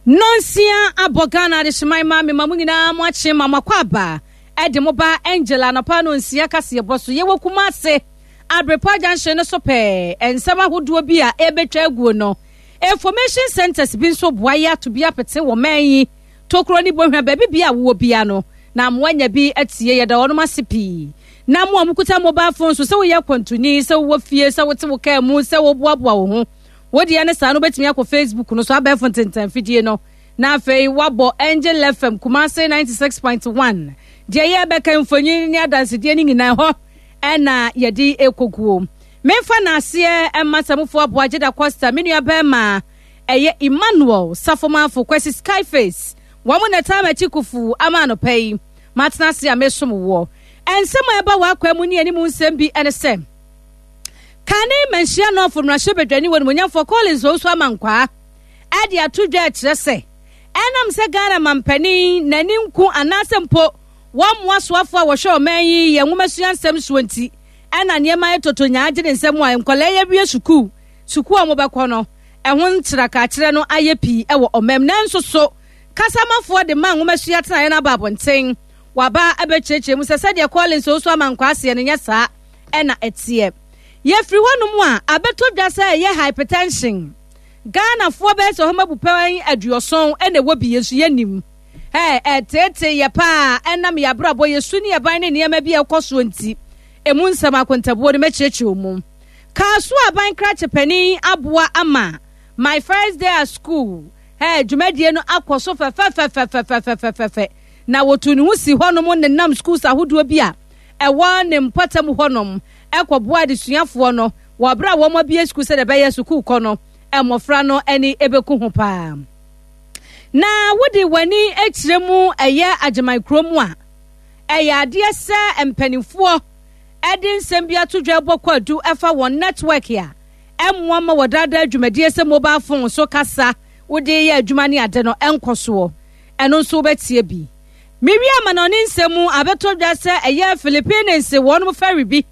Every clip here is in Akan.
Nonsia abɔ Ghana adehyeman ma mema mo nyinaa mo akye ma mo akɔ aba de mo ba Angel anɔpa nonsia kaseɛbɔ so. Yɛwɔ Kumase Abrepa junction no so pɛɛ. Nsɛm ahodoɔ bi a ɛrebɛtwa aguo no, information centers bi nso boa yɛ ato bi apete wɔ man yi tokuro ne bohwa baabi bia a wowɔ bia no na moanya bi atie. Yɛda wɔnom ase pii. Na mo a mokuta mobile phone so, sɛ woyɛ akwantuni, sɛ wowɔ fie, sɛ wote wo kaa mu, sɛ woboaboa wo ho, Wo deɛ ne saa no wobɛtumi akɔ Facebook no so abɛɛfo ntentanfidie no na afei woabɔ Angel FM Kumase 96.1. Deɛ yɛbɛka mfonyin ne adansedie no nyinaa ɛhɔ ɛna yɛde ɛkɔguo. Memfa naaseɛ ɛma Samufoɔ Aboa Gyeda Costa, me nua bɛrima ɛyɛ Emmanuel Safomafo Kwasi Skyface. Wɔn na ɛtaa m'akyi kufu ama anɔpa yi matena ase a mesom woɔ. Nsɛm a ɛba w'akwan mu ne anim nsɛm bi ɛne sɛ, Kane Manhyia North mmarahyɛbadwani wɔ Animuonyamfoɔ Collins Owusu Amankwaa de ato dwa rekyerɛ sɛ ɛnam sɛ Ghana mampanin n'ani nku anaasɛ mpo wɔmmoa soafoɔ a wɔhwɛ ɔman yi yɛn nwomasua nsɛm soɔ nti ɛna nneɛma ayɛ tɔtɔ nyaa gye ne nsam a nkwadaa yi awie sukuu sukuu a wɔbɛkɔ no ɛho nkyerɛkakyerɛ no ayɛ pii wɔ ɔman mu. Nanso so kasamafoɔ de ma nwomasua tenaeɛ no aba abɔnten waba abɛkyerɛkyerɛ mu sɛ sɛdeɛ Collins Owusu Amankwaa seɛ no nyɛ saa na ɛteɛ. Yɛfiri hɔnom a, abɛtɔ dwa sɛ ɛyɛ hypertension. Ghanafoɔ bɛyɛ sɛ ɔhama bupɛn 70 na ɛwɔ bi, yɛn nso yɛnnim. Ɛ, ɛteetee yɛ paa ɛnam yɛn abrabɔ, yɛn su ne yɛn ban ne nneɛma bi a ɛkɔ soɔ nti. Ɛmu nsɛm akontabuo no mɛkyerɛkyerɛ mu. Kaa so aban krakye panin aboa ama My First Day at School ɛ, dwumadie no akɔ so fɛfɛfɛfɛfɛfɛfɛfɛ. Na wɔtuu ne ho si hɔnom nenam schools ahodoɔ bi a ɛwɔ ne mpɔtam hɔnom kɔboa adesuafoɔ no wɔ berɛ a wɔabue sukuu sɛdeɛ ɛbɛyɛ sukuukɔ no mmɔfra no ani bɛku ho paa. Na wode w'ani kyerɛ mu ɛyɛ Agyeman kuro mu a, ɛyɛ adeɛ sɛ mpanimfoɔ de nsɛm bi ato dwa bɔ kwaadu ɛfa wɔn network a ɛmmoa ma wɔdaadaa dwumadie sɛ mobile phone so kasa wode yɛ adwuma ne ade no ɛnkɔ soɔ. Ɛno nso wobɛtie bi. Mewie amanɔne nsɛm mu abɛtɔ dwa sɛ ɛyɛ Philippines wɔnom ferry bi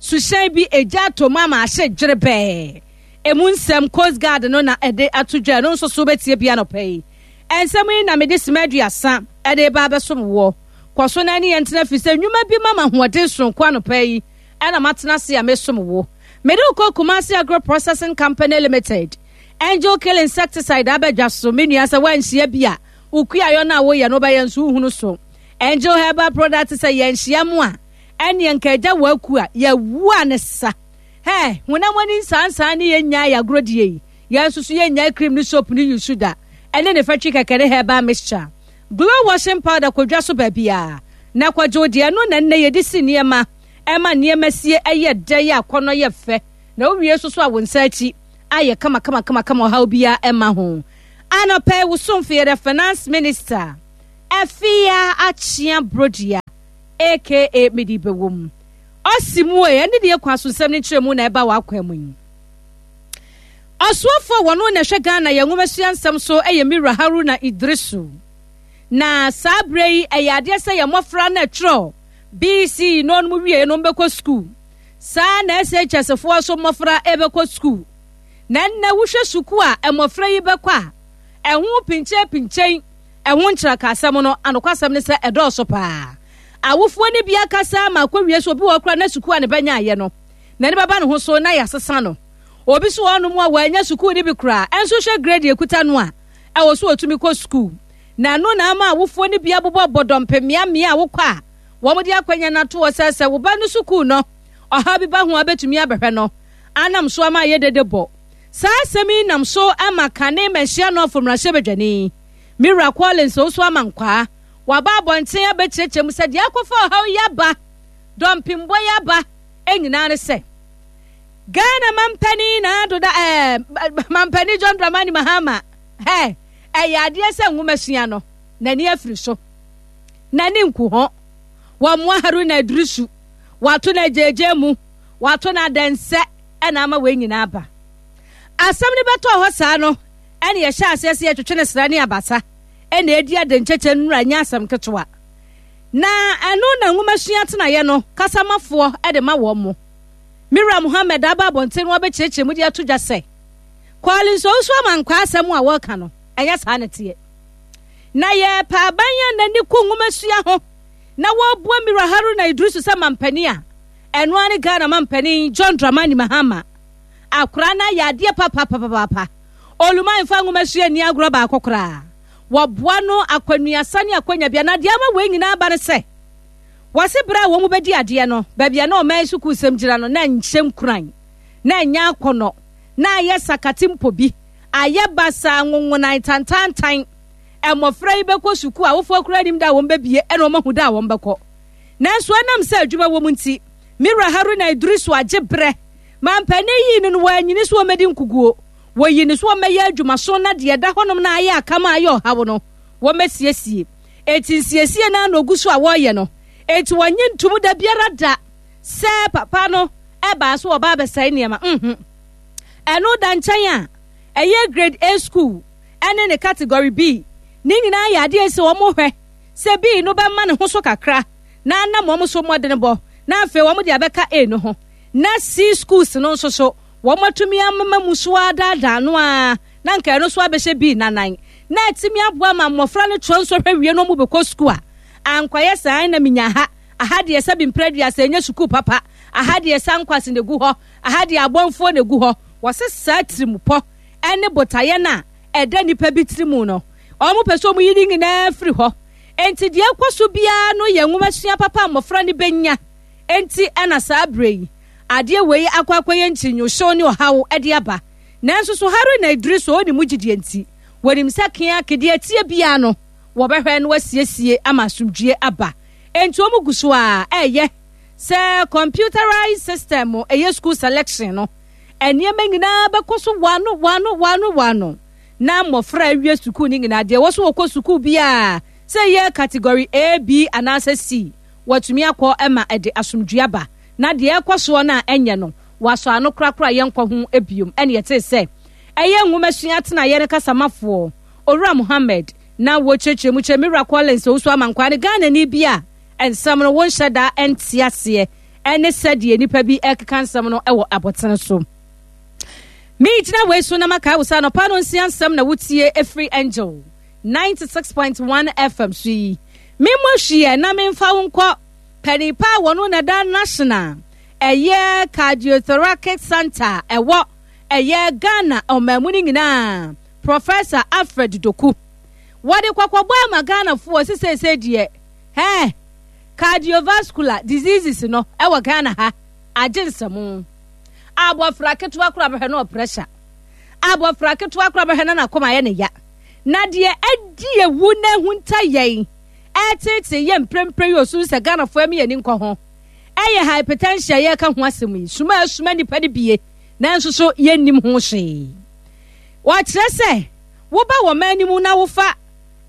suhyɛn bi egya atɔ mu ama ahye dwerebɛɛ. Emu nsɛm Coast Guard no na ɛde ato dwa, ɛno nso so wobɛtie bi anɔpa yi. Nsɛm yi na mede sima 30 ɛde reba abɛsom woɔ. Kɔ so na ɛne yɛn ntena firi sɛ nnwuma bi ma m'ahoɔden soronko anɔpa yi ɛna matena ase a mesom wo. Mede wo kɔ Kumasi Agro Processing Company Limited. Angel Kill Insecticide aba dwa so, me nua sɛ woanhyia bi a, Wo kuayɔ no a woyɛ no wobɛyɛ nso wohunu so. Angel Herbal Product sɛ yɛnhyia mo a ɛneɛ nka agya wɔ aku a yɛawu a ne sa. Hɛ, honam ani nsaansaa ne yɛnnyae yɛ agorɔ die yi. Yɛn nso so yɛnnyae cream ne soap ne use da. Ɛne ne fatwi kɛkɛ ne herbal mixture. Glow washing powder kɔ dwa so baabiara na kɔgye wo deɛ. Ɛno na nnɛ yɛde si nneɛma ɛma nneɛma sie ɛyɛ dɛ yɛ akɔnnɔ yɛ fɛ na wowie nso so a wo nsa akyi ayɛ kama kama kama kama ɔhaw biara ɛma ho. Anɔpa yi wo somfo yɛ the finance minister Afia Akyea Brodua aka Mede Bɛwom. Ɔsi mu e, ɛne deɛ kwan so nsɛm no nkyerɛmu na ɛba w'akwan mu yi. Ɔsoafoɔ a wɔno na ɛhwɛ Ghana yɛn nwomasua nsɛm so yɛ Mira Haruna Iddrisu. Na saa berɛ yi ɛyɛ adeɛ sɛ yɛn mmɔfra no ɛtwerɛ BC no nom wie no bɛkɔ sukuu. Saa na SHS foɔ nso mmɔfra ɛbɛkɔ sukuu. Na ɛnnɛ wohwɛ sukuu a mmɔfra yi bɛkɔ a, ɛho pinkyenpinkyen, ɛho nkyerɛkaasɛm no, anokwasɛm ne sɛ ɛdɔɔso paa. Awofoɔ no bi akasa ma akɔwie sɛ obi wɔ hɔ koraa na sukuu a ne ba nyaeɛ no, n'ani bɛba ne ho so na yɛasesa no. Obi nso wɔ hɔnom a wannya sukuu no bi koraa, ɛnso hwɛ grade a ɛkuta no a, ɛwɔ sɛ ɔtumi kɔ sukuu. Na ɛno na ama awofoɔ no bi abobɔbɔ dɔmpem mmeammea a wokɔ a wɔde akwanya no ato hɔ sɛ sɛ wo ba no sukuu no ɔhaw bi ba ho a wobɛtumi abɛhwɛ no. Anam so ama ayɛ dede bɔ. Saa asɛm yi nam so ma kane Manhyia North mmarahyɛbadwani, me wura Collins Owusu Amankwaa, waba abɔnten abɛkyerɛkyerɛ mu sɛ deɛ akɔfa ɔhaw yi aba, dɔmpembɔ yi aba nyinaa ne sɛ Ghana mampanin na adoda ɛɛ mampanin John Dramani Mahama hɛ ɛyɛ adeɛ sɛ nwomasua no n'ani afiri so n'ani nku ho wɔmmoa Haruna Iddrisu wato no agyeegyee mu Wɔato no adɛnsɛ na ama wei nyinaa aba. Asɛm no bɛtɔɔ hɔ saa no, ɛna yɛhyɛ aseɛ sɛ yɛtwetwe no sra ne abasa na ɛdi adenkyɛkyɛ nnura nyɛ asɛm ketewa. Na ɛno na nwomasua atenaeɛ no kasamafoɔ de ma wɔn mo. Me wura Muhammad aba abɔnten no abɛkyerɛkyerɛ mu de ato dwa sɛ, Collins Owusu Amankwaa asɛm a wɔreka no, Ɛnyɛ saa na ɛteɛ. Na yɛrepɛ aban a n'ani ku nwomasua ho na wɔreboa Mira Haruna Iddrisu sɛ mampanin a, ɛno ara ne Ghana mampanin John Dramani Mahama. Akora no ayɛ adeɛ papapapaapa. Oluman mfa nwomasua nni agorɔ baako koraa. Wɔboa no akwannuasa ne akwanya bia. Na deɛ ama wei nyinaa ba ne sɛ, wɔse berɛ a wɔn bɛdi adeɛ no, baabi a na ɔman sukuusɛm gyina no, na nhyɛ nkuran, na ɛnyɛ akɔnnɔ, na ayɛ sakate mpo bi, ayɛ basaa, nwonwonan, tantaantan. Mmɔfra yi bɛkɔ sukuu a, awofoɔ koraa nnim da a wɔn bɛbie ɛna wɔn ahu da a wɔn bɛkɔ. Nanso ɛnam sɛ adwuma wɔ mu nti, me wura Haruna Iddrisu agye berɛ. Mampanin yii no no, wanyini so ɔmmɛdi nkuguo. Wɔyii no so ɔmmɛyɛ adwumaso na deɛ ɛda hɔnom na ayɛ akam a ayɛ ɔhaw no, wɔmmɛsiesie. Enti nsiesie no ara na ɔgu so a wɔreyɛ no. Enti wɔnnye ntom da biara da sɛ papa no baa so ɔba abɛsɛe nneɛma. Nhu. Ɛno da nkyɛn a, ɛyɛ grade A school ne ne category B. Ne nyinaa yɛ adeɛ sɛ wɔhwɛ sɛ B no bɛma ne ho so kakra na anam wɔn so mmɔdenbɔ na afei wɔn de abɛka A no ho. Na C schools no nso so wɔatumi amema mu so adaadaa no ara na nka ɛno nso abɛhyɛ B nanan na atumi aboa ma mmɔfra no twerɛ nsɔhwɛ wie na wɔn bɛkɔ sukuu a ankɔyɛ saa na menya ha aha deɛ sɛ bi mpere aduasa ɛnyɛ sukuu papa aha deɛ sɛ ankwase na egu hɔ aha deɛ abɔnfoɔ na egu hɔ. Wɔse saa tirimupɔ ne botaeɛ no a ɛda nnipa bi tiri mu no, wɔpɛ sɛ wɔyi ne nyinaa firi hɔ. Enti deɛ ɛkɔ so biara no yɛ nwomasua papa a mmɔfra no bɛnya. Enti ɛna saa berɛ yi, adeɛ wei akɔ akɔyɛ nkyinyohyew ne ɔhaw de aba. Nanso so Haruna Iddrisu ɔnni mu gyidie nti, wɔnim sɛ keake deɛ ɛteɛ biara no, wɔbɛhwɛ na wɔasiesie ama asomdwoeɛ aba. Enti wɔn gu so ara ɛreyɛ sɛ computerized system ɛyɛ school selection no, nneɛma nyinaa bɛkɔ so wano wano wano wano na mmɔfra awie sukuu no nyinaa deɛ ɛwɔ so wɔkɔ sukuu biara sɛ ɛyɛ category A, B anaasɛ C wɔatumi akɔ ma ɛde asomdwoeɛ aba na deɛ ɛkɔ soɔ no a ɛnyɛ no wɔasɔ ano korakora yɛnkɔ ho biom. Ɛne ɛtee sɛ ɛyɛ nwomasua atenaeɛ no kasamafoɔ Owura Mohammed na wɔkyerɛkyerɛ mu kyerɛ me wura Collins Owusu Amankwaa ne Ghanani bi a nsɛm no wonhyɛ da nte aseɛ ne sɛdeɛ nnipa bi rekeka nsɛm no wɔ abɔtene so. Megyina wei so na makae wo sɛ anɔpa no nsia nsɛm na wotie ɛfiri Angel 96.1 FM so yi. Memmɔ hwiɛ na memfa wo nkɔ panin pa a wɔno na da National ɛyɛ Cardiothoracic Center ɛwɔ ɛyɛ Ghana ɔman mu no nyinaa Professor Alfred Doku. Wɔde kɔkɔbɔ ama Ghanafoɔ sɛ seesei deɛ hɛɛ Cardiovascular diseases no wɔ Ghana ha agye nsɛmo. Abɔfra ketewa koraa bɛhwɛ na ɔpressure. Abɔfra ketewa koraa bɛhwɛ na n'akoma ayɛ ne ya. Na deɛ adi ewu na ehunta yɛn ɛreteetee yɛn mprempren yi osu sɛ Ghanafoɔ ɛmi yɛn ani nkɔ ho ɛyɛ hypertension a yɛreka ho asɛm yi. Suma a esuma nipa no bie nanso so yɛnnim ho hwee. Wɔkyerɛ sɛ woba wɔ man no mu na wofa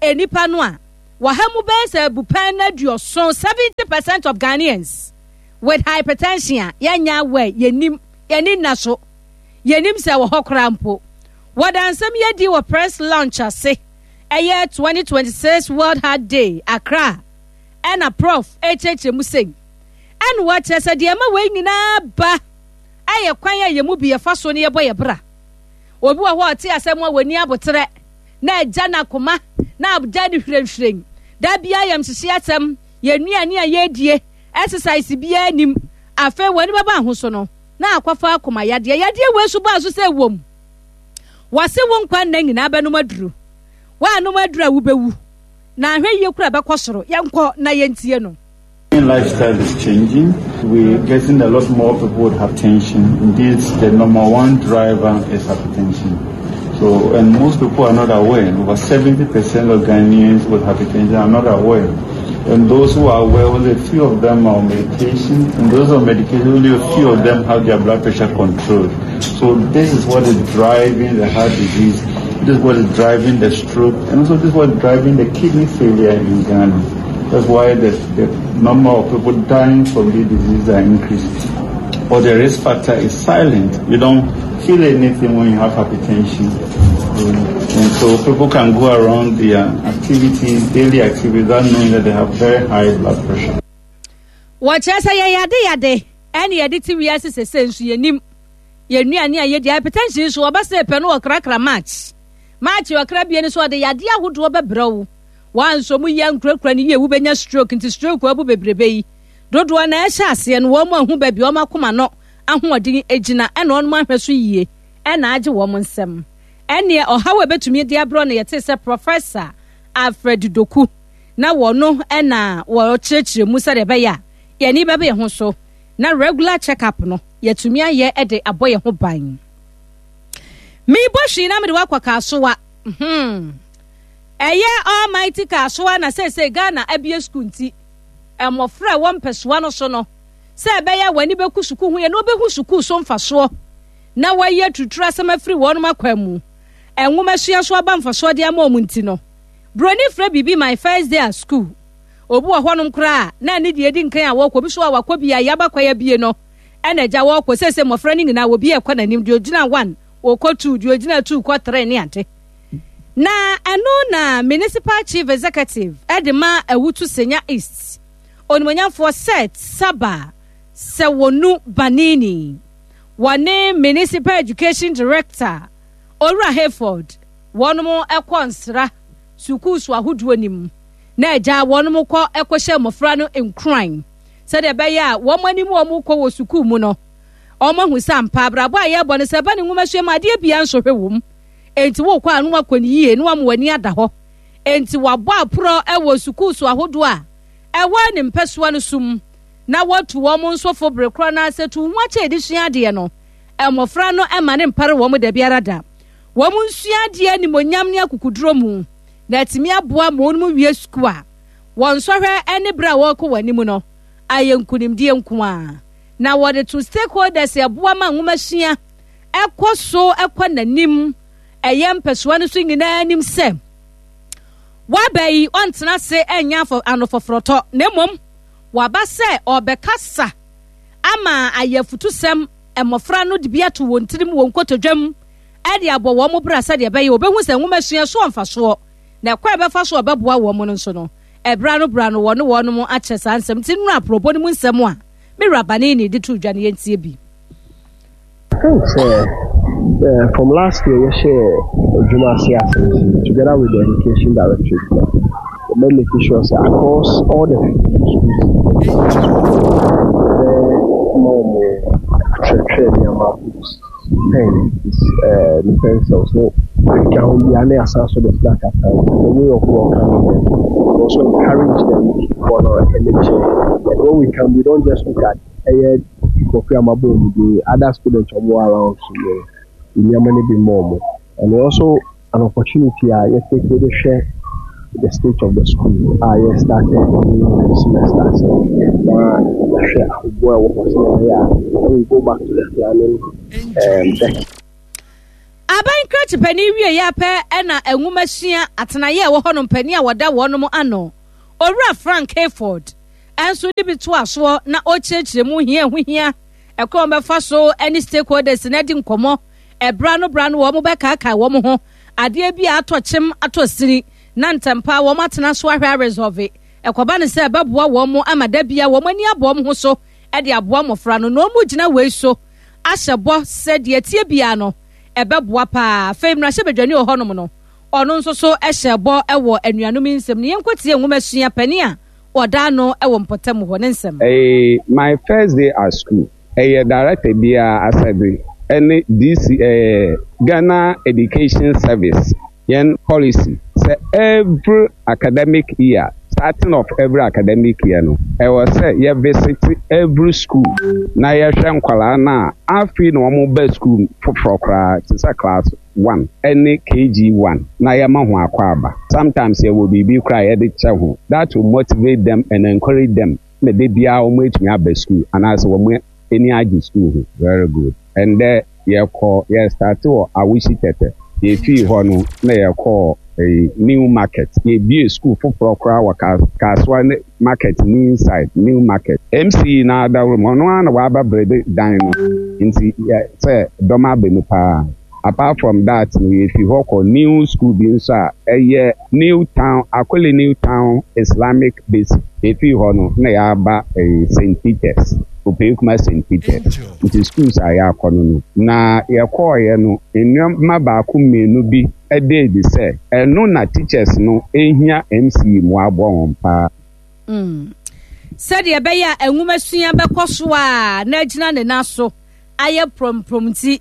nnipa no a Wɔ ha mu bɛyɛ sɛ abupɛn no aduɔson, 70% of Ghanaians with hypertension a yɛnyɛ aware, yɛnnim, yɛn ani nna so, yɛnnim sɛ ɛwɔ hɔ koraa mpo. Wɔda nsɛm yi adi wɔ press launch ase, ɛyɛ 2026 World Heart Day, Accra, ɛna Prof ɛrekyerɛkyerɛ mu sei. Ɛna wɔkyerɛ sɛ deɛ ɛma wei nyinaa ba ɛyɛ kwan a yɛn mu bi yɛfa so ne yɛbɔ yɛ bra. Obi wɔ hɔ a ɔte asɛm a wɔnni aboterɛ. Na agya no akoma, na agya no hwirenhwiren. Da biara yamhyehye asɛm, yɛn nnuane a yɛredie, exercise biara nnim. Afei wɔn ani bɛba ho so no, na akɔfa akoma yadeɛ. Yadeɛ wei so baa so sɛ wom. Wɔse wo nkwa nna nyinaa bɛnom aduru. Woanom aduru a wobɛwu. Na ahwɛ yie kora bɛkɔ soro. Yɛnkɔ na yɛntie no. Lifestyle is changing. We're getting a lot more people with hypertension. Indeed, the number one driver is hypertension. So, and most people are not aware. Over 70% of Ghanaians with hypertension are not aware. And those who are aware, only a few of them are on medication. And those on medication, only a few of them have their blood pressure controlled. So this is what is driving the heart disease. This is what is driving the stroke. And also this is what is driving the kidney failure in Ghana. That's why the, the number of people dying from these diseases are increasing. But the risk factor is silent. You don't feel anything when you have hypertension. And so people can go around their activities, daily activities, without knowing that they have very high blood pressure. Wɔkyerɛ sɛ yɛyɛ ade yade ɛne yɛde te wiase sese nso yɛnim yɛn nnuane a yɛdi hypertension nso wɔba sɛ pɛ no wɔkrakra match. March ɔkra bie no so ɔde yadeɛ ahodoɔ bɛbrɛ wo. Woansɔ mu yie ankurakura no yie wobɛnya stroke nti stroke abu bebrebe yi. Dodoɔ na ɛhyɛ aseɛ no wɔn ahu baabi wɔn akoma no ahoɔden gyina ɛna wɔn ahwɛ so yie ɛna agye wɔn nsam. Ɛneɛ ɔhaw a ɛbɛtumi de abrɛ no yɛte sɛ Professor Alfred Doku na wɔno ɛna wɔkyerɛkyerɛ mu sɛdeɛ ɛbɛyɛ a yɛn ani bɛba yɛn ho so na regular check up no yɛatumi ayɛ de abɔ yɛn ho ban. Mebɔ hwee na mede wakɔ Kasoa. Hmm. Ɛyɛ Almighty Kasoa na seesei Ghana abie sukuu nti mmɔfra a ɛwɔ mpɛsoa no so no sɛ ɛbɛyɛ a wɔn ani bɛku sukuu ho yɛ na wɔbɛhu sukuu so mfasoɔ na wɔayi aturutura asɛm afiri wɔn akwan mu nwoma sua so aba mfasoɔ de ama wɔn nti no buroni frɛ biribi my first day at school. Obi wɔ hɔnom koraa a, na ne deɛ edi nkan a wɔkɔ, obi nso a wakɔ bi a yaba kwan abie no, ɛna agya wɔkɔ. Seesei mmɔfra no nyinaa, obi ɛkɔ n'anim, deɛ ogyina one, ɔkɔ two, deɛ ogyina two kɔ three ne ade. Na ɛno na Municipal Chief Executive de ma Awutu Senya East, Onimuonyamfoɔ Seth Saba Sewonu Banini, wɔne Municipal Education Director, Owura Hayford, wɔnom kɔ nsra sukuu so ahodoɔ no mu. Na agya wɔnom kɔ kɔhyɛ mmɔfra no nkuran sɛdeɛ ɛbɛyɛ a wɔn anim wɔn kɔ wɔ sukuu mu no, wɔn ahu sɛ ampa abrabɔ a yɛrebɔ no sɛ ɛba ne nwomasua mu adeɛ biara nsɔhwɛ wɔ mu. Enti wokɔ a na wakɔ ne yie na wama w'ani ada hɔ. Enti wabɔ aporɔ wɔ sukuu so ahodoɔ a ɛwɔ ne mpɛsoa no so mu na watu wɔn nso fo bere korɔ no ara sɛ tu wo ho akyɛ de sua adeɛ no. Mmɔfra no mma no mpare wɔn da biara da. Wɔn nsua adeɛ animuonyam ne akokoduro mu. Na atumi aboa ma wɔn wie sukuu a, wɔn nsɔhwɛ ne bere a wɔrekɔ wɔn anim no ayɛ nkunimdie nko ara. Na wɔde to stakeholders ɛboa ma nwomasua ɛkɔ so ɛkɔ n'anim ɛyɛ mpɛsoa no so nyinaa anim sɛ waba yi ɔntena ase ɛnyɛ anofɔforɔtɔ na mmom waba sɛ ɔbɛkasa ama ayɛ afutusɛm mmɔfra no de bi ato wɔn tirim wɔn nkotodwam de abɔ wɔn bra sɛdeɛ ɛbɛyɛ wɔbɛhu sɛ nwomasua so wɔ mfasoɔ, na ɛkwan a ɛbɛfa so a ɔbɛboa wɔn no nso no, ɛberɛ ano berɛ ano wɔne wɔn akyɛ saa nsɛm. Nti nnora aporɔbɔ no mu nsɛm a me wura Banini de too dwa no yɛntie bi. I think sɛ eh, from last year yɛhyɛɛ adwuma ase ase nti together with the education directorate no yɛbɛ make sure sɛ across all the 52 schools yɛbɛma wɔn akyerɛkyerɛ nneɛma books pen, eh, ne pencils ne ɛkeka ho biara na yɛasan so de snack aka ho. It's a way of welcoming them. We also encourage them for no anigye. And when we come, we don't just look at ɛyɛ nkurɔfoɔ a mabɔ wɔn din, other students a wɔwɔ around so yɛ nneɛma no bi ma wɔn. And we also an opportunity a yɛ take de hwɛ the state of the school a yɛ start new semester ase na yɛahwɛ ahoboa a ɛwɔ hɔ sɛ ɛbɛyɛ a when we go back to the planning um, deck. Aban krakye panin wieeɛ ara pɛ na nwomasua atenaeɛ a ɛwɔ hɔnom panin a wɔda wɔnom ano, Owura Frank Hayford, nso de bi toa soɔ na ɔrekyerɛkyerɛ mu hia ɛho hia ɛkwan a wɔbɛfa so ne stakeholders no adi nkɔmmɔ ɛberɛ ano berɛ ano wɔn bɛkaakae wɔn ho adeɛ bi a atɔ kyem atɔ sini na ntɛmpa wɔn atena so ahwɛ aresɔve ɛkɔba no sɛ ɛbɛboa wɔn ama da bia wɔn ani abɔ wɔn ho so de aboa mmɔfra no na wɔn gyina wei so ahyɛ bɔ sɛ deɛ ɛteɛ biara no ɛbɛboa paa. Afei mmarahyɛbadwani wɔ hɔnom no ɔno nso so hyɛ bɔ wɔ anuanom yi nsɛm no. Yɛnkɔtie nwomasua panin a ɔda ano wɔ mpɔtam hɔ ne nsɛm. Ɛyɛ my first day at school. Ɛyɛ director biara asɛde ɛne DC ɛɛ Ghana Education Service yɛn policy sɛ every academic year starting of every academic year no ɛwɔ sɛ yɛ visit every school na yɛhwɛ nkwadaa no a afei na wɔn ba school foforɔ koraa te sɛ class one ɛne KG one na yɛma ho akwaaba sometimes yɛwɔ biribi koraa a yɛde kyɛ ho that will motivate them and encourage them na da biara wɔn atumi aba school anaasɛ wɔn ani agye school ho. Very good. Ɛndɛ yɛkɔ yɛ starte wɔ Awusi Tɛtɛ. Yɛfii hɔ no na yɛkɔɔ ɛyi New Market. Yɛbie school foforɔ koraa wɔ Kasoa ne market ne inside New Market. MC no ara dawuro mu ɔno ara na waba brede dan no nti yɛ sɛ dɔm aba mu paa. Apart from that no yɛfi hɔ kɔ new school bi nso a ɛyɛ New Town, Akole New Town Islamic Basic. Yɛfii hɔ no na yɛaba ɛyi St. Peters, Opeikuma St. Peters. Nti schools a yɛakɔ no no. Na yɛkɔɔeɛ no nnoɔma baako mmienu bi. da adi sɛ ɛno na teachers no hia MCE mmoa aboa wɔn paa. Mm. Sɛdeɛ ɛbɛyɛ a nwomasua bɛkɔ so a na agyina ne nan so ayɛ prɔmprɔm nti,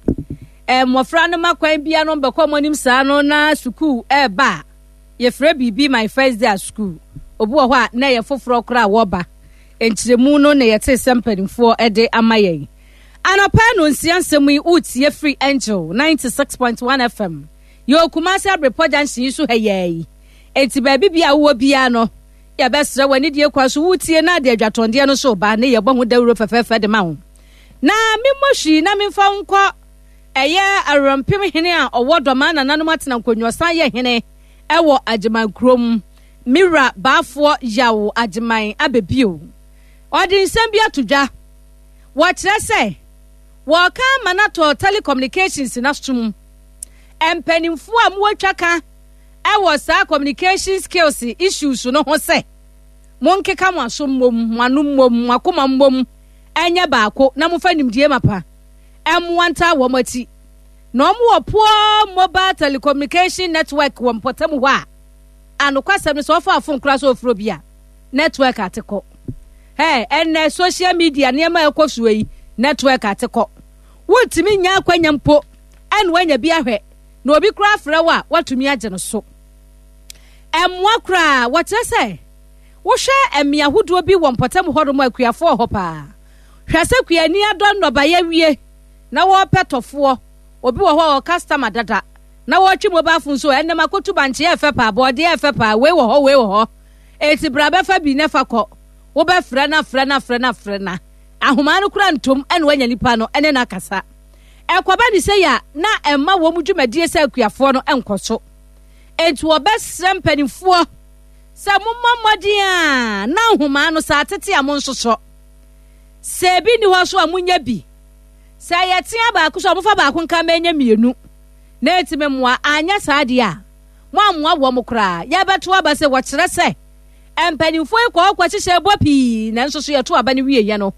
eh, mmɔfra no ma kwan bia no bɛkɔ wɔn anim saa no na sukuu ɛreba a, yɛfrɛ biribi my first day at school. Obi wɔ hɔ a na ɛyɛ foforɔ koraa a wɔreba. Nkyerɛmu no na yɛte sɛ mpanimfoɔ de ama yɛn. Anɔpa nnɔnsia nsɛm yi woretie firi Angel 96.1 FM. Yɛwɔ Kumasi Abrepɔ Junction yi so ha yɛɛ yi. Enti baabi bia wowɔ biara no, yɛbɛsrɛ wɔ anidie kwan so woretie na de adwatɔndeɛ no so ba ne yɛbɔ ho dawuro fɛfɛɛfɛ de ma wo. Na memmɔ hwii na memfa wo nkɔ ɛyɛ Awerɛmpem hene a ɔwɔ Dɔmaa nananom atena nkonnwa san yɛ hene ɛwɔ Agyeman kurom. Me wura Baafoɔ Yaw Agyeman abɛbio. Ɔde nsɛm bi ato dwa. Wɔkyerɛ sɛ wɔreka ama no atɔ telecommunications no asom. Mpanimfoɔ a mowɔ twaka wɔ saa communication skills issues no ho sɛ monkeka mo aso mmom, mo ano mmom, mo akoma mmom ɛnyɛ baako na momfa nimdie mapa mmoa ntaa wɔn akyi. Na wɔn wɔ poor mobile telecommunication network wɔ mpɔtam hɔ a, anokwasɛm no sɛ wɔfa afon koraa sɛ wɔfrɛ obi a, network ate kɔ. Hey, ɛnɛ social media nneɛma a ɛkɔ soɔ yi, network ate kɔ. Wontumi nya akwanya mpo ɛna woanya bi ahwɛ na obi koraa frɛ wo a woatumi agye no so. Ɛmmoa koraa, wɔkyerɛ sɛ wohwɛ mmea ahodoɔ bi wɔ mpɔtam hɔnom a akuafoɔ wɔ hɔ paa. Hwɛ sɛ kuani adɔ nnɔbaeɛ awie na wɔrepɛ tɔfoɔ. Obi wɔ hɔ a ɔwɔ customer dada na wɔretwe mobile phone so ɛnɛ makotu bankye ɛfɛ paa, bɔɔdeɛ ɛfɛ paa, wei wɔ hɔ, wei wɔ hɔ. Eti bra bɛfa bi na fa kɔ. Wobɛfrɛ no afrɛ no afrɛ no afrɛ no ahomaa no kora ntom ɛna wanya nipa no ɛne no akasa. Ɛkɔba ne sei a na ɛmma wɔn dwumadie sɛ akuafoɔ no nkɔ so. Enti wɔbɛsrɛ mpanimfoɔ sɛ mommɔ mmɔden a na nhomaa no sɛ atete a monsosɔ. Sɛ ebi nni hɔ so a monyɛ bi. Sɛ ɛyɛ tea baako so a mofa baako nka ma ɛnyɛ mmienu na ɛtumi mmoa. Anyɛ saa deɛ a moammoa wɔn koraa. Yɛbɛto aba sɛ wɔkyerɛ sɛ mpanimfoɔ yi kɔɔ kɔhyehyɛ bɔ pii nanso so yɛto aba no wieɛ no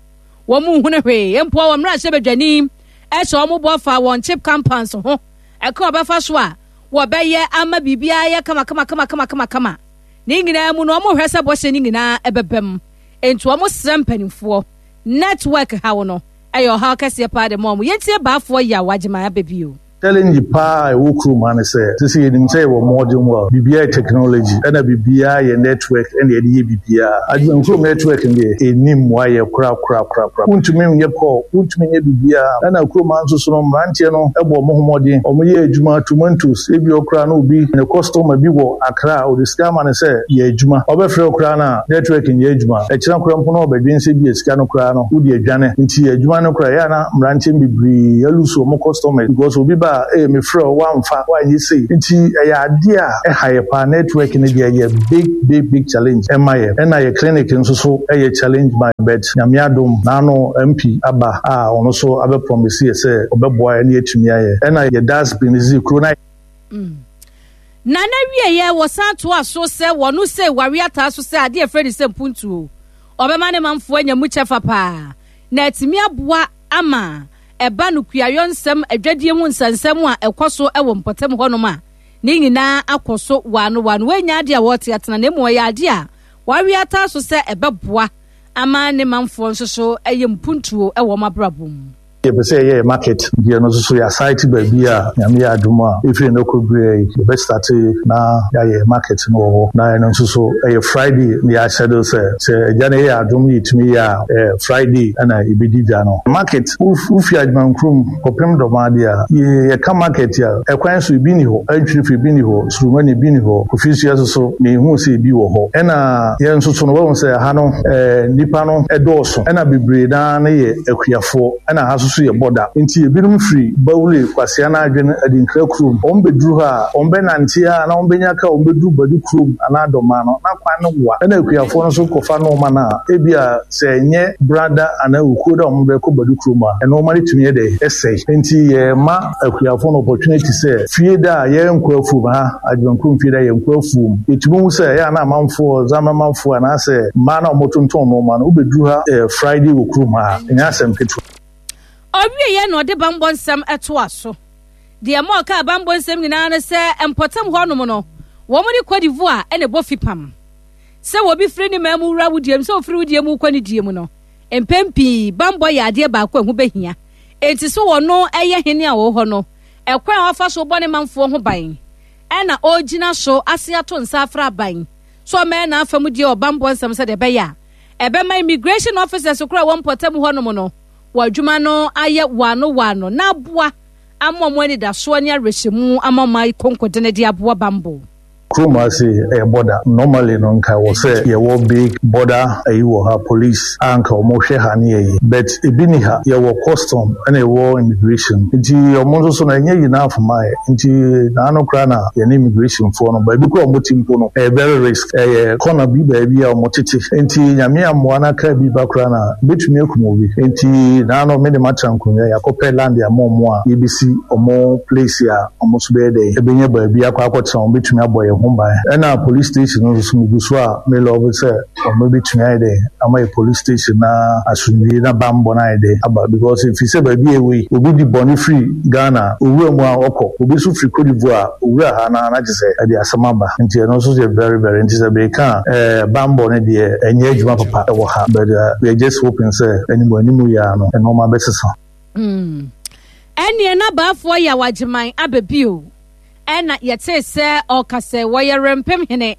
wɔn nhunu hwee mpo wɔn mmarahyɛbadwani hyɛ wɔn bɔ fa wɔn chip compounds ho ɛka wɔbɛfa so a wɔbɛyɛ ama biribiara yɛ kama kama kama kama kama kama ne nyinaa mu no wɔn hwɛ sɛ bɔhyɛ ne nyinaa ɛbɛbam nti wɔn srɛ mpanimfoɔ network haw no ɛyɛ ɔhaw kɛseɛ paa de ma wɔn yɛntie baafoɔ yaw agyeman abɛbio. Challenge paa a ɛwɔ kurom ha ne sɛ, sese yɛnim sɛ yɛwɔ modern world, biribiara yɛ technology, ɛna biribiara yɛ network ɛna yɛde yɛ biribiara. Adwuma kurom network no deɛ, ɛnni mmoa yɛ korakorakorakora. Wontumi nyɛ call, wontumi nyɛ biribiara. Ɛna kurom ha nso so no, mmeranteɛ no bɔ wɔn ho mmɔden, wɔyɛ adwuma, tomatoes, ebi wɔ koraa na obi, ne customer bi wɔ Accra, ɔde sika ama no sɛ yɛ adwuma. Ɔbɛfrɛ wo koraa no a, network nyɛ adwuma. Ɛkyena koraa mpo na ɔbɛdwen sɛ ebia sika no koraa no, wode adwane. Nti adwuma no koraa, ɛyɛ a na mmeranteɛ no bebree alose wɔn customers because obi ba a, ee mefrɛ wo, woamfa, woanyɛ sei. Nti ɛyɛ adeɛ a ɛha yɛ paa. Network no deɛ ɛyɛ big big big challenge ɛma yɛ. Ɛna yɛ clinic nso so yɛ challenge ma yɛ but Nyame adom, n'ano MP aba a ɔno nso abɛ promise yɛ sɛ ɔbɛboa yɛ na yɛatumi ayɛ. Ɛna yɛ dustbin dze kuro no ayɛ. Na n'awieeɛ wɔsan toaa so sɛ wɔno sei ware ataa so sɛ adeɛ a ɛfrɛ no sɛ mpuntuo. Ɔbɛma ne manfoɔ anya mu kyɛfa paa na atumi aboa ama ɛba no kuayɔ nsɛm, adwadie ho nsɛnsɛm a ɛkɔ so wɔ mpɔtam hɔnom a, ne nyinaa akɔ so waano waano. Wei nyɛ adeɛ a wɔrete atena na mmom ɛyɛ adeɛ a wawe ataa so sɛ ɛbɛboa ama ne manfoɔ nso so ayɛ mpuntuo wɔ wɔn abrabɔ mu. Yɛpɛ sɛ yɛyɛ yɛ market nti ɛno nso so yɛasaete baabi a Nyame yɛ adom a ɛfiri nnɛ kɔ berɛ yi yɛbɛ starte na yɛayɛ yɛ market no wɔ hɔ na ɛno nso so ɛyɛ Friday na yɛahyɛdle sɛ sɛ Agya no yɛ adom na yɛtumi yɛ a ɛyɛ Friday na yɛbɛdi dwa no. Market wofi Adwumankurom kɔpem Dɔmaa deɛ a yɛka market a ɛkwan so ebi nni hɔ, Antwirifo ebi nni hɔ, Surumani ebi nni hɔ, Kofisua nso so menhuu sɛ ebi wɔ hɔ ɛna yɛn nso so no wahu sɛ ɛha no nnipa no dɔɔso ɛna bebree no ara no yɛ akuafoɔ ɛna ha nso so yɛ bɔda nti ebinom firi Bawule, Kwasea na Adwene, Adinkra kurom wɔn bɛduru ha a wɔn bɛnante ara na wɔn bɛnya kaa wɔn bɛduru Badu kurom anaa Dɔmaa no na kwan no wa ɛna akuafoɔ no nso kɔfa nnoɔma no a ebia sɛ ɛnyɛ Brada anaa Okuo da wɔn bɛkɔ Badu kurom a nnoɔma no tumi yɛ dɛ ɛsɛe nti yɛma akuafoɔ no opportunity sɛ fie da a yɛnkɔ afuom ha Adwuma kurom fie da yɛnkɔ afuom yɛtumi hu sɛ ɛyɛ a na amanfoɔ Zamamanfoɔ anaasɛ mmaa no a wɔtontɔn nnoɔma no wobɛduru ha Friday wɔ kurom ha a ɛnyɛ asɛm ketewa. Ɔwieeɛ na ɔde bammɔ nsɛm toa so. Deɛ ɛma ɔkaa bammɔ nsɛm nyinaa ne sɛ mpɔtam hɔnom no, wɔn ne Cote d'Ivoire na ɛbɔ fipam. Sɛ obi firi ne man mu wura wo deɛ mu, sɛ ofiri wo deɛ mu kɔ ne deɛ mu no, mpɛn pii bammɔ yɛ adeɛ baako a ɛho bɛhia. Enti so ɔno yɛ hene a ɔwɔ hɔ no, ɛkwan a ɔfa so bɔ ne manfoɔ ho ban ɛna ɔregyina so ase ato nsa afrɛ aban sɛ ɔmmɛyɛ n'afa mu deɛ wɔ bammɔ nsɛm sɛdeɛ ɛbɛyɛ a ɛbɛma immigration officers koraa a ɛwɔ mpɔtam hɔnom no wɔ adwuma no ayɛ wɔano wɔano na aboa ama wɔn anidasoɔ ne awerɛhyɛmu ama wɔn ayɛ konkodene de aboa bammɔ. Kurom ha sei ɛyɛ border normally no nka ɛwɔ sɛ yɛwɔ big border ayi wɔ ha police a nka ɔmo hwɛ ha ne ayi but ebi ni ha yɛwɔ custom ɛna yɛwɔ immigration nti ɔmo nso so no ɛnyɛ enough ma yɛ nti naano koraa na yɛne immigration foɔ no baabi koraa ɔmo te mpo no ɛyɛ very risk ɛyɛ corner bi baabi a ɔmo tete nti Nyame ammoa na car bi ba koraa na ebetumi akum obi nti naano me de matena nkonwa yɛakɔpɛ land ama ɔmo a yɛbesi ɔmo place a Wɔn nso bɛyɛ dɛn bɛnya baabi akɔ akɔtena, wɔbɛtumi abɔ yɛn ho ban. Ɛna police station no nso so megu so a me love sɛ wɔbɛtumi ayɛ dɛn ama yɛ police station na asomdwie na bammɔ no ayɛ dɛn aba because ɛfiri sɛ baabi a ɛwɔ yi obi di bɔne firi Ghana a owura mu a ɔkɔ, obi nso firi Cote d'Ivoire a owura ha na na kyerɛ sɛ ɛde asɛm aba nti ɛno nso yɛ very very nti sɛ meka a ɛɛ bammɔ no deɛ ɛnyɛ adwuma papa wɔ ha but we are just hoping sɛ anim anim yi ara no nnoɔma bɛsesa. Mm. Ɛneɛ na baafoɔ Yaw Agyeman aba bio. Ɛna yɛtee sɛ ɔka sɛ wɔyɛ Rempem hene.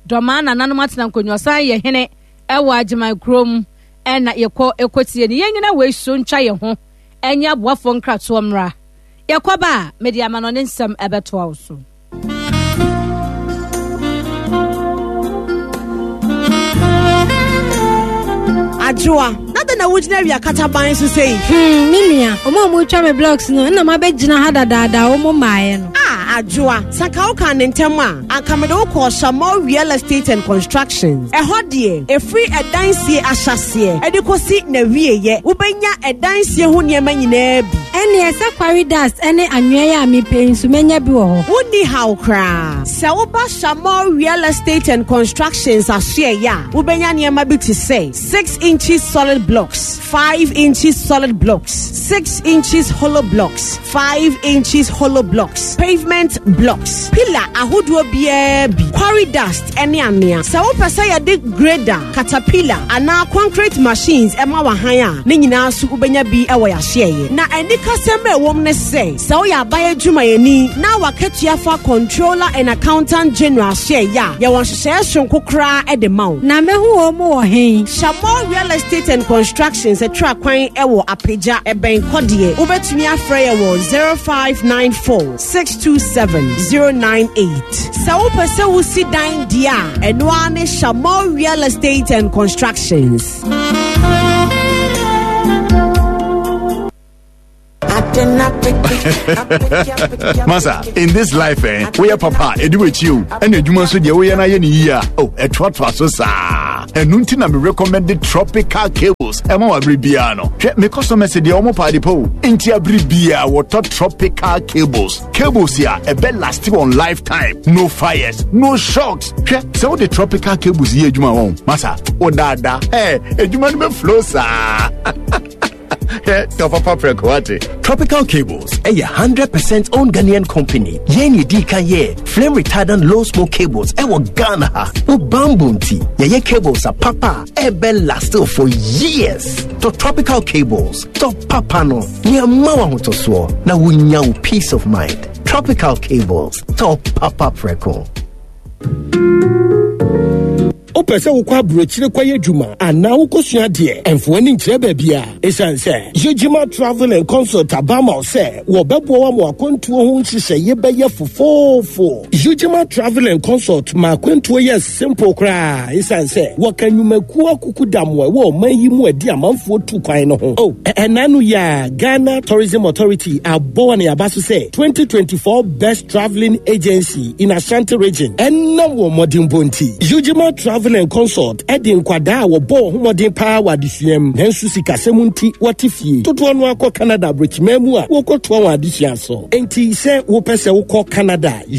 Dɔmaa nananom atena nkonnwa ɔsan yɛ hene ɛwɔ Agyeman kurom. Ɛna yɛkɔ ɛkɔtie no. Yɛnyina wei so ntwa yɛn ho ɛnyɛ aboafoɔ nkratoɔ mmra. Yɛkɔba a, mede amanɔne nsɛm ɛbɛtoa wo so. Adwoa, na dɛn na wogyina awia kataban so sei? Hmm, me nua, ɔmo a ɔmo me blocks no, nna mabɛgyina ha dadaada ɔmo mmaeɛ no. Ah, Adwoa, sanka wo kan ne ntɛm a, anka mede wo kɔɔ Shamol Real Estate and Constructions. Ɛhɔ deɛ, ɛfiri ɛdan sie ahyɛseɛ ɛde kɔsi n'awieeɛ, wobɛnya ɛdan sie ho nneɛma nyinaa bi. Ɛnneɛ sɛ quarry dust ne anwea yi a mepɛ yi nso mɛnya bi wɔ hɔ. Wonni haw koraa. Sɛ woba Shamor Real Estate and Constructions asoɛeɛ a, wobɛnya nneɛma bi te sɛ 6 inches solid blocks, 5 inches solid blocks, 6 inches hollow blocks, 5 inches hollow blocks, pavement blocks, pillar ahodoɔ biara bi, quarry dust ne anwea. Sɛ wopɛ sɛ yɛde grader, caterpillar anaa concrete machines ma w'ahan a, ne nyinaa nso wobɛnya bi wɔ yɛahyeɛeɛ. Na anikasɛm a ɛwom ne sɛ, sɛ woyɛ aban adwumayɛni na w'akatua fa Controller and Accountant General ahyeɛeɛ a, yɛwɔ nhyehyɛeɛ soronko koraa de ma wo. Na mɛhu wɔn wɔ he? Shamor Real Estate and Constructions atwa kwan wɔ Apagya, ɛbɛn Kɔdeɛ. Wobɛtumi afrɛ yɛn wɔ 0594 627 098. Sɛ wopɛ sɛ wosi dan deɛ a, ɛno ara ne Shamor Real Estate and Constructions. Masa, in this life, eh, we are papa, edu echi ɛna adwuma nso deɛ woyɛ no ayɛ ne yie a, oh, ɛtoatoa so saa. Ɛno nti na me recommend tropical cables ɛma wɔ abere biara no. Hwɛ, me customers deɛ wɔn paade pa o. Nti abere biara wɔtɔ tropical cables. Cables a ɛbɛ last wɔn lifetime. No fires, no shocks. Hwɛ, sɛ wode tropical cables yɛ adwuma wɔn, masa, wodaadaa, ɛ, adwuma no bɛ flow saa. Hwɛ, papa prɛko wate. Tropical Cables ɛyɛ 100% owned Ghanaian company. Yɛn na yɛdii kan yɛɛ flame retardant low smoke cables ɛwɔ Ghana ha. Wo bambɔ nti, yɛyɛ cables a papa a ɛbɛ last for years. Tɔ Tropical Cables, tɔ papa no, nea mma wo ahotɔsoɔ na wonya wo peace of mind. Tropical Cables, tɔ papa prɛko. Wopɛ sɛ wokɔ aburokyire kɔyɛ adwuma anaa wokɔsua adeɛ? Ɛmfa w'ani nkyerɛ baabiara. Esiane sɛ Yejima Travel and Consult aba ama wo sɛ wɔbɛboa wo ama w'akwantuo ho nhyehyɛeɛ bɛyɛ fofoofo. Yejima Travel and Consult ma akwantuo yɛ simple koraa esiane sɛ wɔka nnwumakuo akukudam a ɛwɔ ɔman yi mu a ɛde amanfoɔ tu kwan no ho. Oh, ɛnna ano yi ara Ghana Tourism Authority abɔ wɔn aba so sɛ 2024 Best Travelling Agency in Ashanti Region ɛnam wɔn mmɔdenbɔ nti. Ujima Travel and Consult de nkwadaa a wɔbɔ wɔn ho mmɔden paa wɔ adesua mu nanso sikasɛm nti wɔte fie dodoɔ no akɔ Canada aburokyiman mu a wɔkɔtoa wɔn adesua so. Enti sɛ wopɛ sɛ wokɔ Canada,